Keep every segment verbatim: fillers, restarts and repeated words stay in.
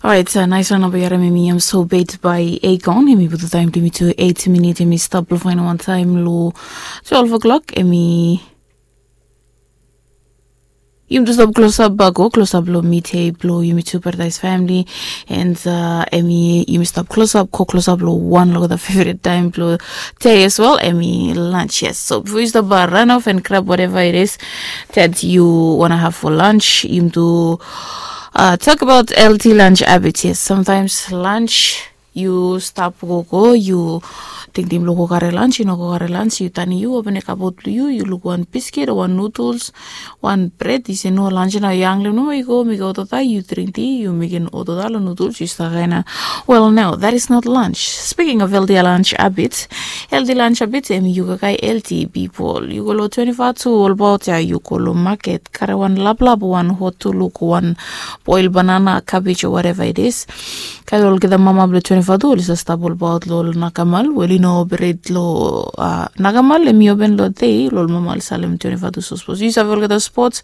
Orait, nais wan nao bae yu harim, hemi Am So Bad bae Akon. Hemi putum taem blong yumi tu eit minit, hemi stap blong faenem wan taem long twelve o'clock. Hemi yumi tu stap klosap bak, go klosap long midei blong yumi tu Paradise Family. And hemi yumi stap klosap, go klosap long wan long olgeta feveret taem blong dei as well, hemi lunch, yes. So bifo yu stap ran off and grab whatever it is that you wanna have for lunch, yumi tu talk about healthy lunch habits. Yes, sometimes lunch yu stap gogo, yu tingting blong go kare lunch, yu no go kare lunch, yu tanem, yu openem kabot blong yu, yu luk wan biskit o wan noodles, wan bred, yu se no, lunch nao, yu hangrem nomo, yu go mekem hot wota, yu dring ti, yu mekem hot wota long noodles, yu stap kaen. Well, no, that is not lunch. Speaking of healthy lunch habits, healthy lunch habits, hemi yu kakae healthy, pipol. Yu go long twenty-four tu olbaot ya, yu go long maket, kare wan laplap, wan hot tuluk, wan boil banana, cabbage o whatever it is. Kae olgeta mama blong twenty-four tu oli save stap olbaot long ol nakamal we oli no operate long nakamal, hemi open long dei, long ol mama oli salem twenty-four tu. So sapos yu save olgeta spots,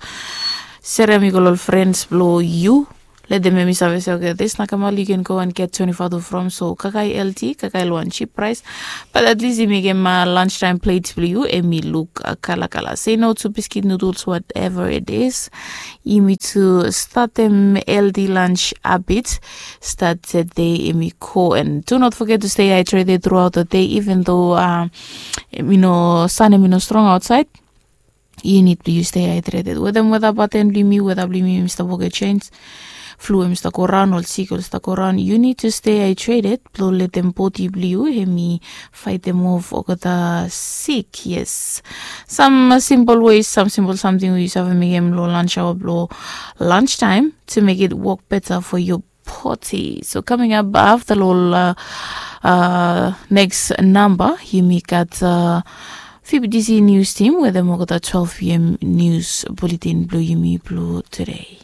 serem i go long ol friends blong yu, letem hemi save se, okay, this nakamal you can go and get twenty-four tu from. So kakae healthy, kakae long wan cheap price. But at least i mekem lunch time plate blong yu hemi luk kalakala. Say no to biscuit, noodles, whatever it is. Yumi tu statem healthy lunch habit, start today, hemi go. And do not forget to stay hydrated throughout the day, even though um, you know, sun hemi no strong outside. Yu nid blong yu stay hydrated. Wetem weta paten blong yumi, weta blong yumi hemi stap wokem jenis. Flu hemi stap go raon, ol sik oli stap go raon. Yu nid tu stay hydrated blong letem bodi blong yu hemi faetem of olgeta sik. Yes. Sam simpol ways, sam simpol samting we yu save mekem long lunch hour, long lunch time, to make it work better for your body. So coming up afta long ol next namba, yumi gat Phoebe D C news team wetem olgeta twelve p.m. news bulletin blong yumi blong today.